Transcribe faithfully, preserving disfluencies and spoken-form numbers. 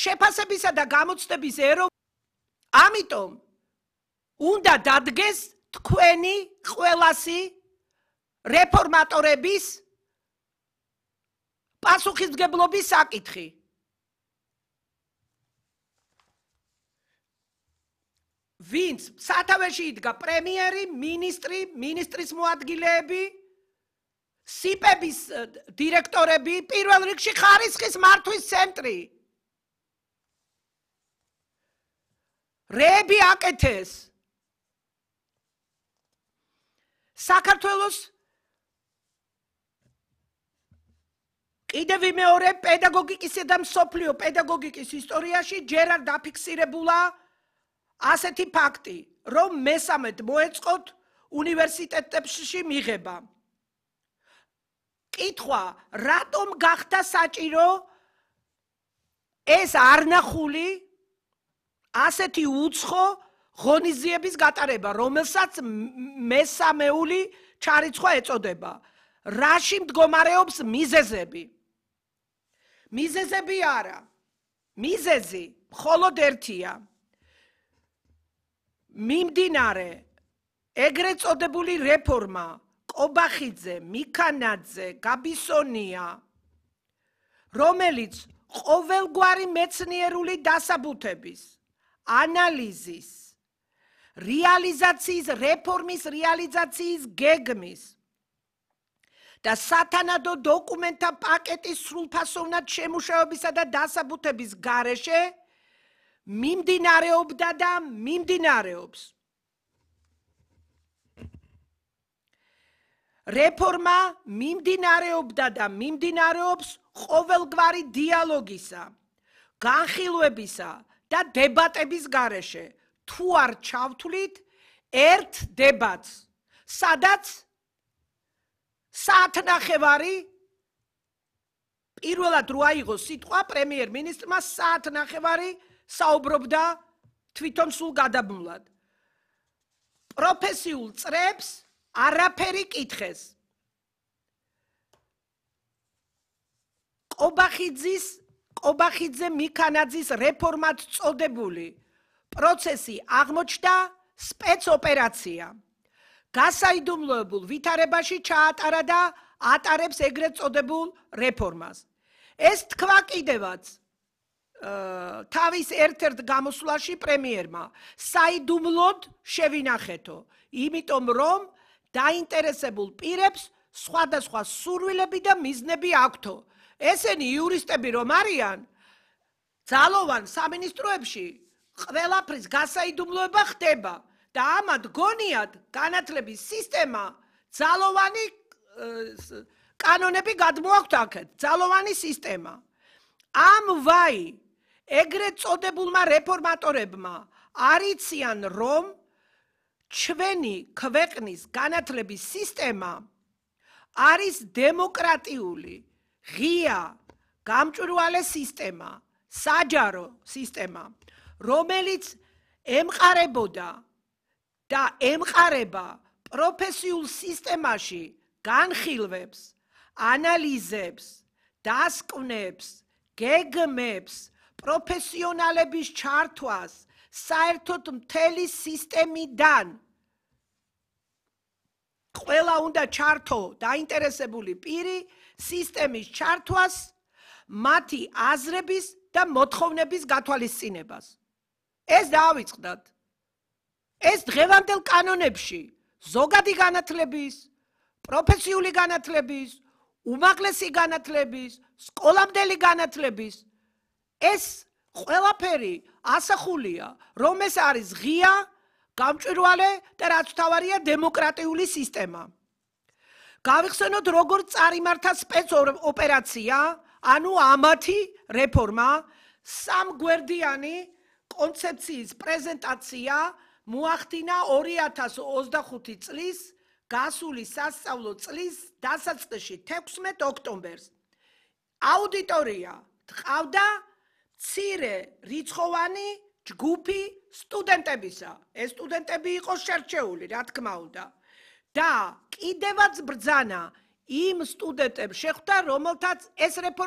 შეფასებისა და გამოცდების ერო ამიტომ უნდა დადგეს თქვენი ყველასი რეფორმატორების პასუხისმგებლობის საკითხი. ვინც სათავეში იდგა პრემიერი, მინისტრი, მინისტრის მოადგილეები, სიპების დირექტორები, პირველ რიგში ხარისხის მართვის ცენტრი. რეები აკეთეს. საქართველოს კიდევ მეორე პედაგოგიკისა და მსოფლიო პედაგოგიკის ისტორიაში ჯერ არ დაფიქსირებულა ასეთი ფაქტი, რომ მესამედ მოეწყოთ უნივერსიტეტებში მიღება. კითხვა, რატომ გახდა საჭირო ეს არნახული ასეთი უცხო ღონისძიების გატარება, რომელსაც მესამეული ჩარიცხვა ეწოდება. რაში მდგომარეობს მიზეზები? მიზეზები არა. მიზეზი მხოლოდ ერთია. მიმდინარე ეგრეთ წოდებული რეფორმა კობახიძე, მიქანაძე, გაბისონია, რომელიც ყოველგვარი მეცნიერული დასაბუთების, ანალიზის, რეალიზაციის, რეფორმის რეალიზაციის გეგმის და სათანადო დოკუმენტთა პაკეტის სრულფასოვნად შემუშავებისა და დასაბუთების გარეშე მიმდინარეობდა და მიმდინარეობს. რეფორმა მიმდინარეობდა და მიმდინარეობს ყოველგვარი დიალოგისა, განხილვებისა და დებატების გარეშე. თუ არ ჩავთვლით ერთ დებატს, სადაც საათნახევარი პირველად რო აიღო სიტყვა პრემიერ-მინისტრმა საათნახევარი საუბრობდა თვითონ სულ გადაბმულად. პროფესიულ წრებს არაფერი კითხეს. კობახიძის, კობახიძე მიქანაძის რეფორმად წოდებული პროცესი აღმოჩნდა სპეცოპერაცია. გასაიდუმლოებულ ვითარებაში ჩაატარა და ატარებს ეგრეთ წოდებულ რეფორმას. ეს თქვა კიდევაც თავის ერთ-ერთ გამოსვლაში პრემიერმა, საიდუმლოდ შევინახეთო, იმიტომ რომ დაინტერესებულ პირებს სხვადასხვა სურვილები და მიზნები აქვთო. ესენი იურისტები რომ არიან, ძალოვან სამინისტროებში ყველაფრის გასაიდუმლოება ხდება და ამად გონიათ განათლების სისტემა ძალოვანი კანონები გადმოაქვთ აქეთ, ძალოვანი სისტემა. ამ ვაი ეგრეთ წოდებულმა რეფორმატორებმა არიციან, რომ ჩვენი ქვეყნის განათლების სისტემა არის დემოკრატიული, ღია, გამჭვირვალე სისტემა, საჯარო სისტემა, რომელიც ემყარებოდა და ემყარება პროფესიულ სისტემაში განხილვებს, ანალიზებს, დასკვნებს, გეგმებს, პროფესიონალების ჩართვას საერთოდ მთელი სისტემიდან. ყველა უნდა ჩართო დაინტერესებული პირი სისტემის ჩართვას, მათი აზრების და მოთხოვნების გათვალისწინებას. ეს დაავიწყდათ. ეს დღევანდელ კანონებში ზოგადი განათლების, პროფესიული განათლების, უმაღლესი განათლების, სკოლამდელი განათლების ეს ყველაფერი ასახულია, რომ ეს არის ღია, გამჭვირვალე და რაც თავარია დემოკრატიული სისტემა. გავიხსენოთ, როგორ წარიმართა სპეცოპერაცია, ანუ ამათი რეფორმა, სამგვერდიანი კონცეფციის პრეზენტაცია მოახდინა ორი ათას ოცდახუთი წლის გასული სასწავლო წლის დასაწყისში თექვსმეტ ოქტომბერს. აუდიტორია ჰყავდა მცირე რიცხოვანი ჯგუფი სტუდენტებისა. ეს სტუდენტები იყო შერჩეული, რა თქმა უნდა. და კიდევაც ბრძანა იმ სტუდენტებს შეხვდა, რომელთაც ეს რეფორმა